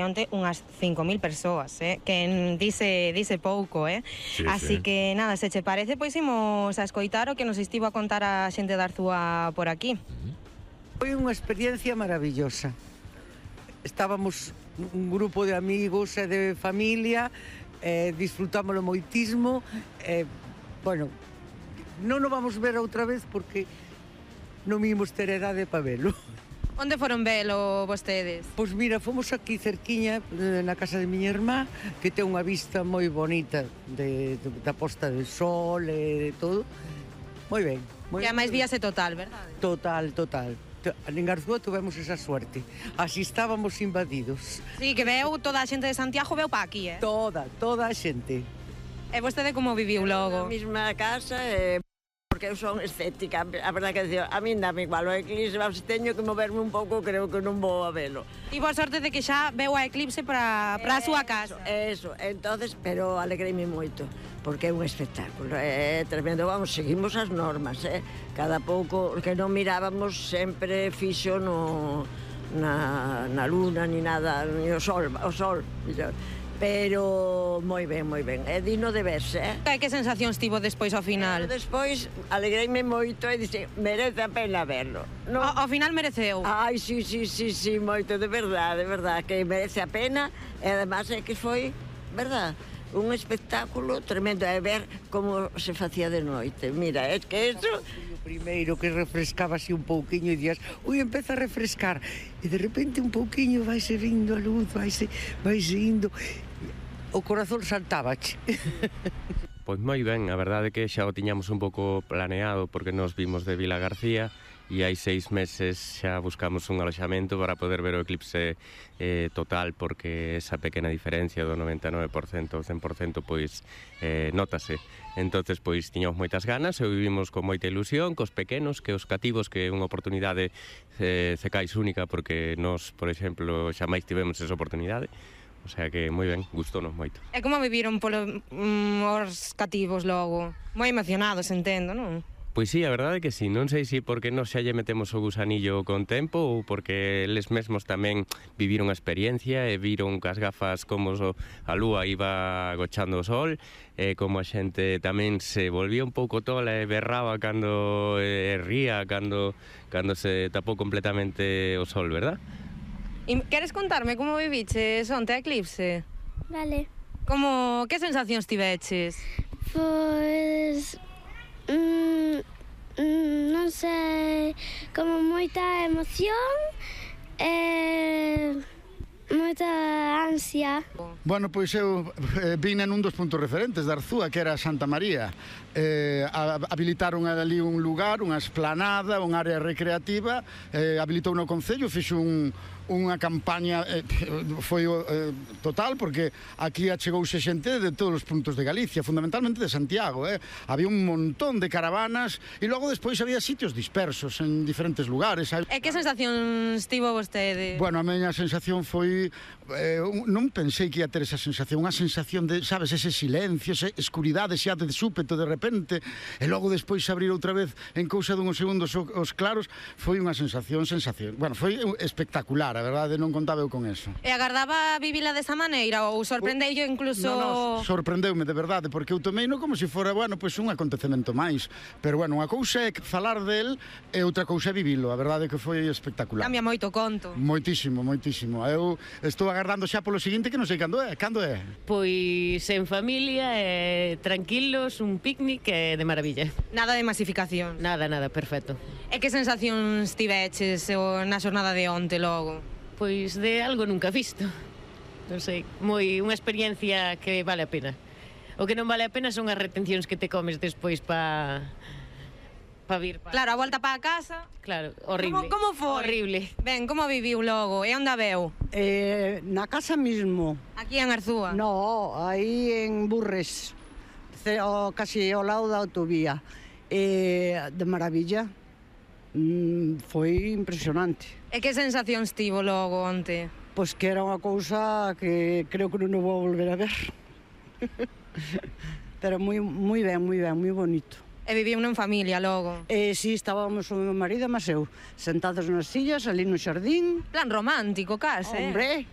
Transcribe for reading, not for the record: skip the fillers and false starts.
había onte unhas 5.000 persoas, que dice pouco, Sí, así sí. que nada, se che parece, pois imos a escoitar o que nos estivo a contar a xente de Arzúa por aquí. Foi unha experiencia maravillosa. Estábamos un grupo de amigos e de familia, disfrutámoslo moitismo, bueno, non nos vamos ver outra vez porque non imos ter edade para velo. Onde foron velo vostedes? Pois mira, fomos aquí cerquiña na casa de miña irmá, que ten unha vista moi bonita da posta de sol e de todo. Moi ben. E a máis víase total, verdade? Total. En Arzúa tuvemos esa suerte. Así estábamos invadidos. Sí, que veu toda a xente de Santiago veu pa aquí, Toda a xente. E vostede como viviu logo? Na mesma casa, porque eu son escéptica, a verdade que decir, a min dame igual o eclipse, se teño que moverme un pouco, creo que non vou a velo. Tivo a sorte de que xa veu a eclipse para a súa casa. Eso, entonces, pero alegreime moito, porque é un espectáculo, é tremendo, vamos, seguimos as normas, cada pouco, que non mirábamos sempre fixo na luna, ni nada, ni o sol, millor. Pero moi ben, é digno de verse, Que sensacións tivo despois ao final? Despois alegreime moito e dixe, merece a pena verlo. Ao final mereceu? Ai, sí, moito, de verdade, que merece a pena, e además é que foi, verdad, un espectáculo tremendo, é ver como se facía de noite. Mira, é que eso... O primeiro que refrescaba así un pouquiño e días, ui, empeza a refrescar, e de repente un pouquiño vaise vindo a luz, vaise indo, o corazón saltábache. Pois moi ben, a verdade é que xa o tiñamos un pouco planeado porque nos vimos de Vila García e hai 6 meses xa buscamos un aloxamento para poder ver o eclipse total, porque esa pequena diferencia do 99% ao 100% pois notase. Entonces pois tiñamos moitas ganas e vivimos con moita ilusión, cos pequenos, que os cativos, que é unha oportunidade cecais única, porque nós, por exemplo, xa máis tivemos esa oportunidade. O sea que moi ben, gustónos moito. E como viviron os cativos logo? Moi emocionados, entendo, non? Pois sí, a verdade é que sí, non sei se porque nos xa lle metemos o gusanillo con tempo ou porque eles mesmos tamén viviron a experiencia e viron cas gafas como a lúa iba agochando o sol, e como a xente tamén se volvía un pouco tola e berraba cando ría, cando se tapou completamente o sol, verdad? E queres contarme como viviches onte a eclipse? Vale. Que sensacións tiveches? Pois... non sei, como moita emoción e moita ansia. Bueno, pois eu vine nun dos puntos referentes de Arzúa, que era Santa María. Habilitaron ali un lugar, unha esplanada, unha área recreativa, habilitou no Concello, fixo unha campaña, foi total, porque aquí achegouse xente de todos os puntos de Galicia, fundamentalmente de Santiago. Había un montón de caravanas e logo despois había sitios dispersos en diferentes lugares. E que sensacións tivo vostede? Bueno, a miña sensación foi... non pensei que ia ter esa sensación, unha sensación de, sabes, ese silencio, esa escuridade xa de súpeto de repente, e logo despois abrir outra vez en cousa dunhos segundos os claros, foi unha sensación. Bueno, foi espectacular, a verdade, non contaba eu con eso. E agardaba vivila desa maneira ou sorprendeu incluso... Non, sorprendeume de verdade, porque eu tomeino como se fora, bueno, pois un acontecemento máis, pero bueno, unha cousa é falar del e outra cousa é vivilo, a verdade é que foi espectacular. Cambia moito o conto. Moitísimo. Eu estou agardando xa polo seguinte, que non sei cando é. Pois en familia, tranquilos, un picnic de maravilla. Nada de masificación. Nada, perfecto. E que sensacións tiveches na xornada de onte logo? Pois de algo nunca visto. Non sei, unha experiencia que vale a pena. O que non vale a pena son as retencións que te comes despois para vir. Claro, a volta para a casa. Claro, horrible. Como foi? Horrible. Ben, como viviu logo? E onde a veu? Na casa mismo. Aquí en Arzúa? No, aí en Burres, casi ao lado da autovía. De maravilla. Foi impresionante. E que sensacións tivo logo onte? Pois que era unha cousa que creo que non vou volver a ver. Pero moi ben, moi bonito. E viviu en familia logo? Si, estábamos o meu marido e eu sentados nas sillas, ali no xardín. Plan romántico, case. Hombre,